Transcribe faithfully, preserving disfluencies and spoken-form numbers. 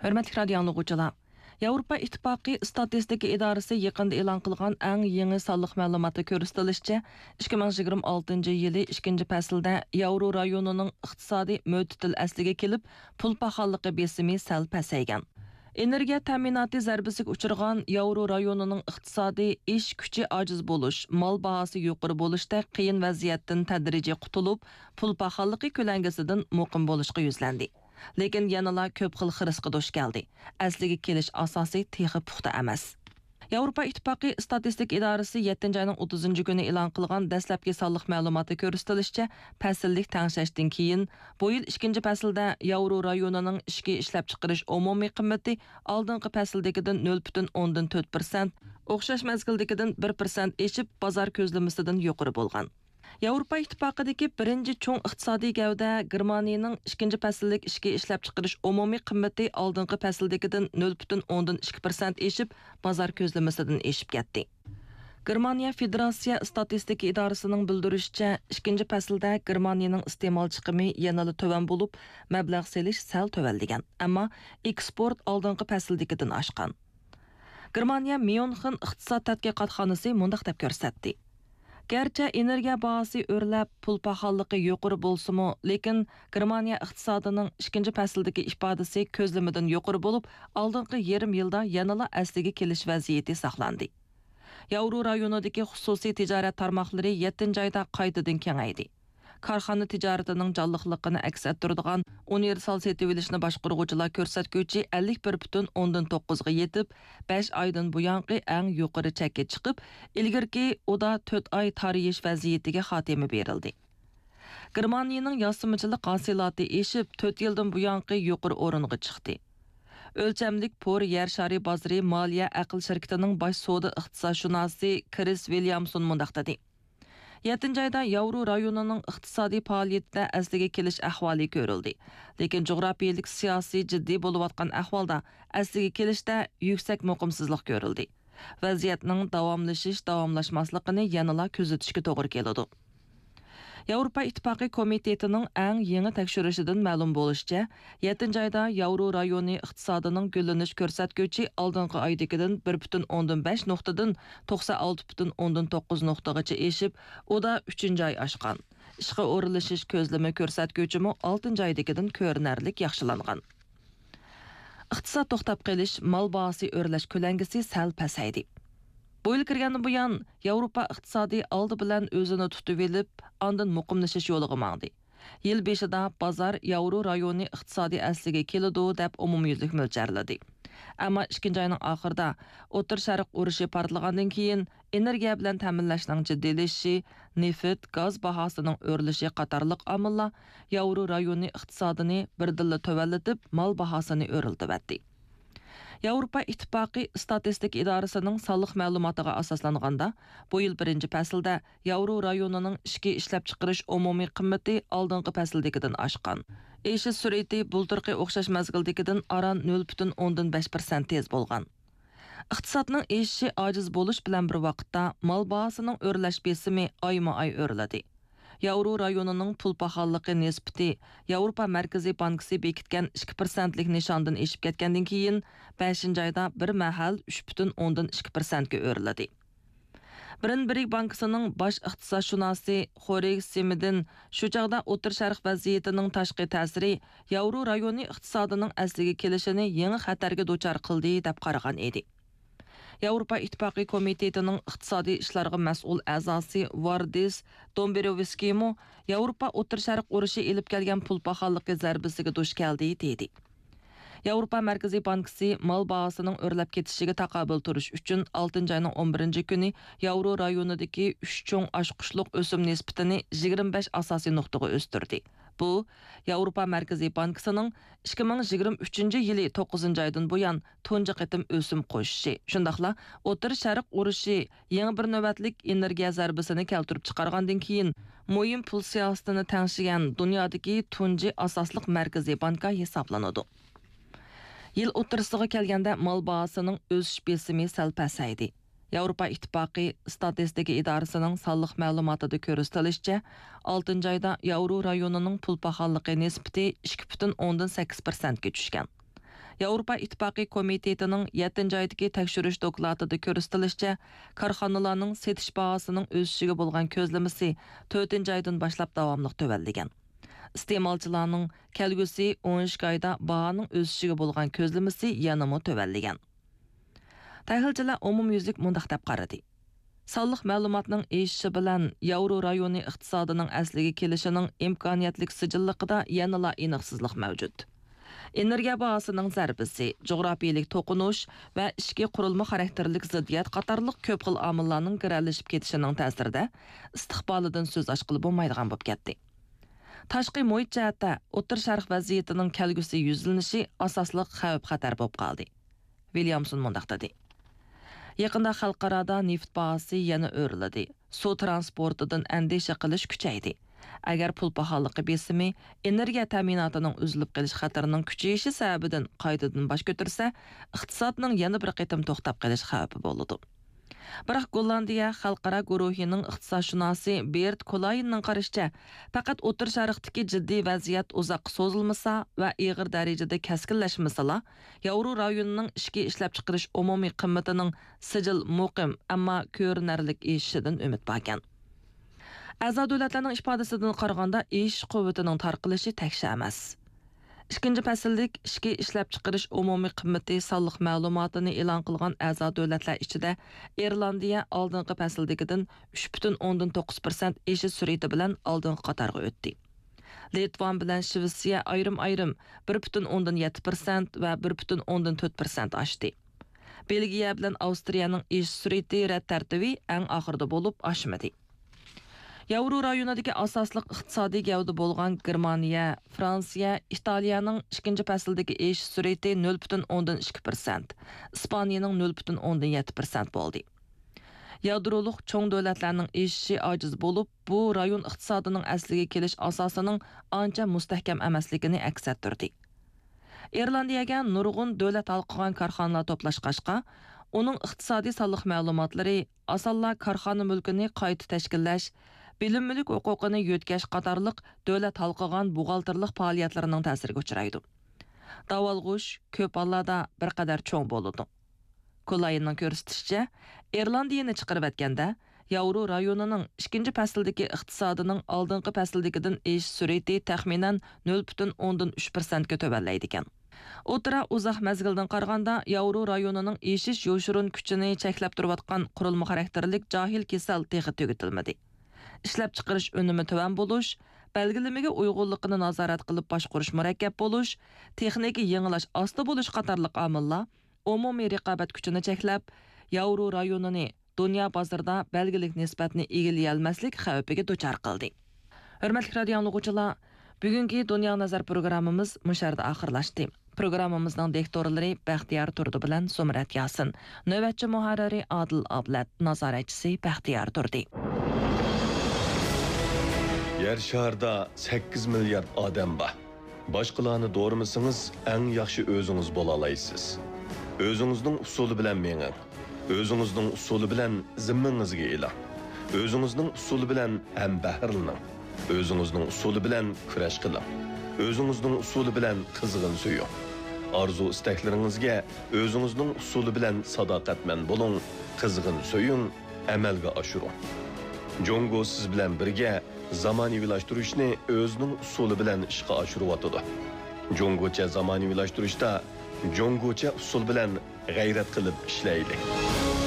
ھۆرمەتلىك رادىيو ئاڭلىغۇچىلار! ياۋروپا ئىتتىپاقى ئىستاتىستىكا ئىدارىسى يېقىندا ئېلان قىلغان ئەڭ يېڭى سانلىق مەلۇماتتا كۆرسىتىلىشىچە، ئىككى مىڭ يىگىرمە ئالتىنچى يىلى ئىككىنچى پەسىلدە ياۋرو رايونىنىڭ ئىقتىسادى مۆتىدىل ئەسلىگە كېلىپ، پۇل پاخاللىقى بېسىمى سەل پەسەيگەن. ئېنېرگىيە تەمىناتى زەربىسىگە ئۇچرىغان ياۋرو رايونىنىڭ ئىقتىسادى ئىش كۈچى ئاجىز بولۇش، مال باھاسى يۇقىرى بولۇشتەك قىيىن ۋەزىيەتتىن تەدرىجىي قۇتۇلۇپ، پۇل پاخاللىقى كۆلەڭگىسىدىن مۇقىم بولۇشقا يۈزلەندى. لېكىن يەنىلا كۆپ خىل خىرىسقا دۇچ كەلدى. ئەسلىگە كېلىش ئاساسى تېخى پۇختا ئەمەس. ياۋروپا ئىتتىپاقى ئىستاتىستىكا ئىدارىسى يەتتىنچى ئاينىڭ ئوتتۇزىنچى كۈنى ئېلان قىلغان دەسلەپكى سانلىق مەلۇماتتا كۆرسىتىلىشىچە، پەسىللىك تەڭشەشتىن كېيىن، بۇ يىل ئىككىنچى پەسىلدە ياۋرو رايونىنىڭ ئىچكى ئىشلەپچىقىرىش ئومۇمىي قىممىتى ئالدىنقى پەسىلدىكىدىن نۆل پۈتۈن ئوندىن تۆت پىرسەنت، ئوخشاش مەزگىلدىكىدىن بىر پىرسەنت ئېشىپ، بازار كۆزلىمىسىدىن يۇقىرى بولغان. ياۋروپا ئىتتىپاقىدىكى بىرىنچى چوڭ ئىقتىسادىي گەۋدە گېرمانىيىنىڭ ئىككىنچى پەسىللىك ئىچكى ئىشلەپچىقىرىش ئومۇمىي قىممىتى ئالدىنقى پەسىلدىكىدىن نۆل پۈتۈن ئوندىن ئىككى پىرسەنت ئېشىپ، بازار كۆزلىمىسىدىن ئېشىپ كەتتى. گېرمانىيە فېدېراتسىيە ئىستاتىستىكا ئىدارىسىنىڭ بىلدۈرۈشىچە، ئىككىنچى پەسىلدە گېرمانىيىنىڭ ئىستېمال چىقىمى يەنىلا تۆۋەن بولۇپ، مەبلەغ سېلىش سەل تۆۋەنلىگەن، ئەمما ئېكسپورت ئالدىنقى پەسىلدىكىدىن ئاشقان. گېرمانىيە ميۇنخېن ئىقتىساد تەتقىقاتخانىسى مۇنداق دەپ كۆرسەتتى: گەرچە ئېنېرگىيە باھاسى ئۆرلەپ، پۇل پاخاللىقى يۇقىرى بولسىمۇ، لېكىن گېرمانىيە ئىقتىسادىنىڭ ئىككىنچى پەسىلدىكى ئىپادىسى كۆزلىمىدىن يۇقىرى بولۇپ، ئالدىنقى يېرىم يىلدا يەنىلا ئەسلىگە كېلىش ۋەزىيىتى ساقلاندى. ياۋرو رايونىدىكى خۇسۇسىي تىجارەت تارماقلىرى يەتتىنچى ئايدا قايتىدىن كېڭەيدى. كارخانا تىجارىتىنىڭ جانلىقلىقىنى ئەكس ئەتتۈرىدىغان ئۇنىۋېرسال سېتىۋېلىشنى باشقۇرغۇچىلار كۆرسەتكۈچى ئەللىك بىر پۈتۈن ئوندىن توققۇزغا يېتىپ، بەش ئايدىن بۇيانقى ئەڭ يۇقىرى چەككە چىقىپ، ئىلگىرىكى ئۇدا تۆت ئاي تارىيىش ۋەزىيىتىگە خاتىمە بېرىلدى. گېرمانىيىنىڭ ياسىمىچىلىق ھاسىلاتى ئېشىپ، تۆت يىلدىن بۇيانقى يۇقىرى ئورۇنغا چىقتى. ئۆلچەملىك پور يەر شارى بازىرى مالىيە ئەقىل شىركىتىنىڭ باش سودا ئىقتىسادشۇناسى كرىس ۋىليامسون مۇنداق دېدى: يەتتىنچى ئايدا ياۋرو رايونىنىڭ ئىقتىسادىي پائالىيىتىدە ئەسلىگە كېلىش ئەھۋالى كۆرۈلدى. لېكىن جۇغراپىيىلىك سىياسىي جىددىي بولۇۋاتقان ئەھۋالدا ئەسلىگە كېلىشتە يۈكسەك مۇقىمسىزلىق كۆرۈلدى. ۋەزىيەتنىڭ داۋاملىشىش-داۋاملاشماسلىقىنى يەنىلا كۆزىتىشكە توغرا كېلىدۇ. ياۋروپا ئىتتىپاقى كومىتېتىنىڭ ئەڭ يېڭى تەكشۈرۈشىدىن مەلۇم بولۇشىچە، يەتتىنچى ئايدا ياۋرو رايونى ئىقتىسادىنىڭ گۈللىنىش كۆرسەتكۈچى ئالدىنقى ئايدىكىدىن بىر پۈتۈن ئوندىن بەش نۇقتىدىن توقسان ئالتە پۈتۈن ئوندىن توققۇز نۇقتىغىچە ئېشىپ، ئۇدا ئۈچىنچى ئاي ئاشقان. ئىشقا ئورۇنلىشىش كۆزلىمە كۆرسەتكۈچىمۇ ئالتىنچى ئايدىكىدىن كۆرۈنەرلىك ياخشىلانغان. ئىقتىساد توختاپ قېلىش، مال باھاسى ئۆرلەش كۆلەڭگىسى سەل پەسەيدى. بۇ يىل كىرگەندىن بۇيان، ياۋروپا ئىقتىسادى ئالدى بىلەن ئۆزىنى تۇتۇۋېلىپ، ئاندىن مۇقىملىشىش يولىغا ماڭدى. يىل بېشىدا بازار ياۋرو رايونى ئىقتىسادى ئەسلىگە كېلىدۇ دەپ ئومۇميۈزلۈك مۆلچەرلىدى. ئەمما ئىككىنچى ئاينىڭ ئاخىرىدا ئوتتۇرا شەرق ئۇرۇشى پارتلىغاندىن كېيىن، ئېنېرگىيە بىلەن تەمىنلەشنىڭ جىددىيلىشىشى، نېفىت، گاز باھاسىنىڭ ئۆرلىشى قاتارلىق ئامىللار ياۋرو رايونى ئىقتىسادىنى بىردىنلا تۆۋەنلىتىپ، مال باھاسىنى ئۆرلىتىۋەتتى. ياۋروپا ئىتتىپاقى ئىستاتىستىكا ئىدارىسىنىڭ سانلىق مەلۇماتىغا ئاساسلانغاندا، بۇ يىل بىرىنچى پەسىلدە ياۋرو رايونىنىڭ ئىچكى ئىشلەپچىقىرىش ئومۇمىي قىممىتى ئالدىنقى پەسىلدىكىدىن ئاشقان. ئېشىش سۈرئىتى بۇلتۇرقى ئوخشاش مەزگىلدىكىدىن ئاران نۆل پۈتۈن ئوندىن بەش پىرسەنت تېز بولغان. ئىقتىسادنىڭ ئېشىشى ئاجىز بولۇش بىلەن بىر ۋاقىتتا، مال باھاسىنىڭ ئۆرلەش بېسىمى ئايمۇ ئاي ئۆرلىدى. ياۋرو رايونىنىڭ پۇل پاخاللىقى نىسبىتى ياۋروپا مەركىزىي بانكىسى بېكىتكەن ئىككى پىرسەنتلىك نىشاندىن ئېشىپ كەتكەندىن كېيىن، بەشىنچى ئايدا بىر مەھەل ئۈچ پۈتۈن ئوندىن ئىككى پىرسەنتكە ئۆرلىدى. برېنبېرگ بانكىسىنىڭ باش ئىقتىسادشۇناسى خورج سېمېدىن شۇ چاغدا ئوتتۇرا شەرق ۋەزىيىتىنىڭ تاشقى تەسىرى ياۋرو رايونى ئىقتىسادىنىڭ ئەسلىگە كېلىشىنى يېڭى خەتەرگە دۇچار قىلدى، دەپ قارىغان ئىدى. ياۋروپا ئىتتىپاقى كومىتېتىنىڭ ئىقتىسادىي ئىشلارغا مەسئۇل ئەزاسى ۋاردىس دومبروۋسكىيمۇ ياۋروپا ئوتتۇرا شەرق ئۇرۇشى ئېلىپ كەلگەن پۇل پاخاللىقى زەربىسىگە دۇچ كەلدى، دېدى. ياۋروپا مەركىزىي بانكىسى مال باھاسىنىڭ ئۆرلەپ كېتىشىگە تاقابىل تۇرۇش ئۈچۈن، ئالتىنچى ئاينىڭ ئون بىرىنچى كۈنى ياۋرو رايونىدىكى ئۈچ چوڭ ئاچقۇچلۇق ئۆسۈم نىسبىتىنى يىگىرمە بەش ئاساسىي نۇقتىغا ئۆستۈردى. بۇ، ياۋروپا مەركىزىي بانكىسىنىڭ ئىككى مىڭ يىگىرمە ئۈچىنچى يىلى توققۇزىنچى ئايدىن بۇيان تۇنجى قېتىم ئۆسۈم قوشۇشى، شۇنداقلا ئوتتۇرا شەرق ئۇرۇشى يېڭى بىر نۆۋەتلىك ئېنېرگىيە زەربىسىنى كەلتۈرۈپ چىقارغاندىن كېيىن، مۇھىم پۇل سىياسىتىنى تەڭشىگەن دۇنيادىكى تۇنجى ئاساسلىق مەركىزىي بانكا ھېسابلىنىدۇ. يىل ئوتتۇرىسىغا كەلگەندە، مال باھاسىنىڭ ئۆسۈش بېسىمى سەل پەسەيدى. ياۋروپا ئىتتىپاقى ئىستاتىستىكا ئىدارىسىنىڭ سانلىق مەلۇماتىدا كۆرسىتىلىشىچە، ئالتىنچى ئايدا ياۋرو رايونىنىڭ پۇل پاخاللىقى نىسبىتى ئىككى پۈتۈن ئوندىن سەككىز پىرسەنتكە چۈشكەن. ياۋروپا ئىتتىپاقى كومىتېتىنىڭ يەتتىنچى ئايدىكى تەكشۈرۈش دوكلاتىدا كۆرسىتىلىشىچە، كارخانىلارنىڭ سېتىش باھاسىنىڭ ئۆسۈشىگە بولغان كۆزلىمىسى تۆتىنچى ئايدىن باشلاپ داۋاملىق تۆۋەنلىگەن. ئىستېمالچىلارنىڭ كەلگۈسى ئون ئىككى ئايدا باھانىڭ ئۆسۈشىگە بولغان كۆزلىمىسى يەنىمۇ تۆۋەنلىگەن. تەھلىلچىلەر ئومۇميۈزلۈك مۇنداق دەپ قارىدى: سانلىق مەلۇماتنىڭ ئېشىشى بىلەن ياۋرو رايونى ئىقتىسادىنىڭ ئەسلىگە كېلىشىنىڭ ئىمكانىيەتلىك سىجىللىقىدا يەنىلا ئېنىقسىزلىق مەۋجۇت. ئېنېرگىيە باھاسىنىڭ زەربىسى، جۇغراپىيىلىك توقۇنۇش ۋە ئىچكى قۇرۇلما خاراكتېرلىك زىددىيەت قاتارلىق كۆپ خىل ئامىللارنىڭ گىرەلىشىپ كېتىشىنىڭ تەسىرىدە ئىستىقبالىدىن سۆز ئاچقىلى بولمايدىغان بولۇپ كەتتى. تاشقى مۇھىت جەھەتتە ئوتتۇرا شەرق ۋەزىيىتىنىڭ كەلگۈسى يۈزلىنىشى ئاساسلىق خەۋپ-خەتەر بولۇپ قالدى. ۋىليامسون مۇنداق دېدى: يېقىندا خەلقئارادا نېفىت باھاسى يەنە ئۆرلىدى، سۇ تىرانسپورتىدىن ئەندىشە قىلىش كۈچەيدى. ئەگەر پۇل پاخاللىقى بېسىمى، ئېنېرگىيە تەمىناتىنىڭ ئۈزۈلۈپ قېلىش خەتىرىنىڭ كۈچىيىشى سەۋەبىدىن قايتىدىن باش كۆتۈرسە، ئىقتىسادنىڭ يەنە بىر قېتىم توختاپ قېلىش خەۋپى بولىدۇ. بىراق گوللاندىيە خەلقئارا گۇرۇھىنىڭ ئىقتىسادشۇناسى بېرت كولايننىڭ قارىشىچە، پەقەت ئوتتۇرا شەرقتىكى جىددىي ۋەزىيەت ئۇزاققا سوزۇلمىسا ۋە ئېغىر دەرىجىدە كەسكىنلەشمىسىلا، ياۋرو رايونىنىڭ ئىچكى ئىشلەپچىقىرىش ئومۇمىي قىممىتىنىڭ سىجىل مۇقىم، ئەمما كۆرۈنەرلىك ئېشىشىدىن ئۈمىد باركەن. ئەزا دۆلەتلەرنىڭ ئىپادىسىدىن قارىغاندا، ئېشىش قۇۋۋىتىنىڭ تارقىلىشى تەكشى ئەمەس. ئىككىنچى پەسىللىك ئىچكى ئىشلەپچىقىرىش ئومۇمىي قىممىتى سانلىق مەلۇماتىنى ئېلان قىلغان ئەزا دۆلەتلەر ئىچىدە ئىرلاندىيە ئالدىنقى پەسىلدىكىدىن ئۈچ پۈتۈن ئوندىن توققۇز پىرسەنت ئېشىش سۈرئىتى بىلەن ئالدىنقى قاتارغا ئۆتتى. لىتۋان بىلەن شىۋېتسىيە ئايرىم-ئايرىم بىر پۈتۈن ئوندىن يەتتە پىرسەنت ۋە بىر پۈتۈن ئوندىن تۆت پىرسەنت ئاشتى. بېلگىيە بىلەن ئاۋسترىيەنىڭ ئېشىش سۈرئىتى رەت تەرتىپى ئەڭ ئاخىرىدا بولۇپ ئاشمىدى. ياۋرو رايونىدىكى ئاساسلىق ئىقتىسادىي گەۋدە بولغان گېرمانىيە، فرانسىيە، ئىتالىيەنىڭ ئىككىنچى پەسىلدىكى ئېشىش سۈرئىتى نۆل پۈتۈن ئوندىن ئىككى پىرسەنت، ئىسپانىيەنىڭ نۆل پۈتۈن ئوندىن يەتتە پىرسەنت بولدى. يادرولۇق چوڭ دۆلەتلەرنىڭ ئېشىشى ئاجىز بولۇپ، بۇ رايون ئىقتىسادىنىڭ ئەسلىگە كېلىش ئاساسىنىڭ ئانچە مۇستەھكەم ئەمەسلىكىنى ئەكس ئەتتۈردى. ئىرلاندىيەگە نۇرغۇن دۆلەت ھالقىغان كارخانىلار توپلاشقاچقا، ئۇنىڭ ئىقتىسادىي سانلىق مەلۇماتلىرى ئاسانلا كارخانا مۈلكىنى قايتا تەشكىللەش، بىلىم مۈلۈك ھوقۇقىنى يۆتكەش قاتارلىق دۆلەت ھالقىغان بوغالتىرلىق پائالىيەتلىرىنىڭ تەسىرىگە ئۇچرايدۇ. داۋالغۇش كۆپ ھاللاردا بىر قەدەر چوڭ بولىدۇ. كولايننىڭ كۆرسىتىشىچە، ئىرلاندىيىنى چىقىرىۋەتكەندە، ياۋرو رايونىنىڭ ئىككىنچى پەسىلدىكى ئىقتىسادىنىڭ ئالدىنقى پەسىلدىكىدىن ئېشىش سۈرئىتى تەخمىنەن نۆل پۈتۈن ئوندىن ئۈچ پىرسەنتكە تۆۋەنلەيدىكەن. ئوتتۇرا ئۇزاق مەزگىلدىن قارىغاندا، ياۋرو رايونىنىڭ ئېشىش يوشۇرۇن كۈچىنى چەكلەپ تۇرۇۋاتقان قۇرۇلما خاراكتېرلىك جاھىل كېسەل تېخى تۈگىتىلمىدى. ئىشلەپچىقىرىش ئۈنۈمى تۆۋەن بولۇش، بەلگىلىمىگە ئۇيغۇنلۇقىنى نازارەت قىلىپ باشقۇرۇش مۇرەككەپ بولۇش، تېخنىكا يېڭىلاش ئاستا بولۇش قاتارلىق ئامىللار ئومۇمىي رىقابەت كۈچىنى چەكلەپ، ياۋرو رايونىنى دۇنيا بازىرىدا بەلگىلىك نىسبەتنى ئىگىلىيەلمەسلىك خەۋپىگە دۇچار قىلدى. ھۆرمەتلىك رادىيو ئاڭلىغۇچىلار، بۈگۈنكى دۇنيا نەزەر پروگراممىمىز مۇشۇ يەردە ئاخىرلاشتى. پروگراممىمىزنىڭ دىكتورلىرى بەختىيار تۇردى بىلەن زۇمرەت ياسىن، نۆۋەتچى مۇھەررىرى ئادىل ئابلەت، نازارەتچىسى بەختىيار تۇردى. يەر شارىدا سەككىز مىليارد ئادەم بار. باشقىلارنى دورىمىسىڭىز، ئەڭ ياخشى ئۆزىڭىز بولالايسىز. ئۆزىڭىزنىڭ ئۇسۇلى بىلەن مېڭىڭ. ئۆزىڭىزنىڭ ئۇسۇلى بىلەن زىممىڭىزگە ئېلىڭ. ئۆزىڭىزنىڭ ئۇسۇلى بىلەن ھەمبەھىرلىنىڭ. ئۆزىڭىزنىڭ ئۇسۇلى بىلەن كۈرەش قىلىڭ. ئۆزىڭىزنىڭ ئۇسۇلى بىلەن قىزغىن سۆيۈڭ. ئارزۇ-ئىستەكلىرىڭىزگە ئۆزىڭىزنىڭ ئۇسۇلى بىلەن ساداقەتمەن بولۇڭ، قىزغىن سۆيۈڭ، ئەمەلگە ئاشۇرۇڭ. جۇڭگو سىز بىلەن بىرگە زامانىۋىلاشتۇرۇشنى ئۆزىنىڭ ئۇسۇلى بىلەن ئىشقا ئاشۇرۇۋاتىدۇ. جۇڭگوچە زامانىۋىلاشتۇرۇشتا جۇڭگوچە ئۇسۇل بىلەن غەيرەت قىلىپ ئىشلەيلى.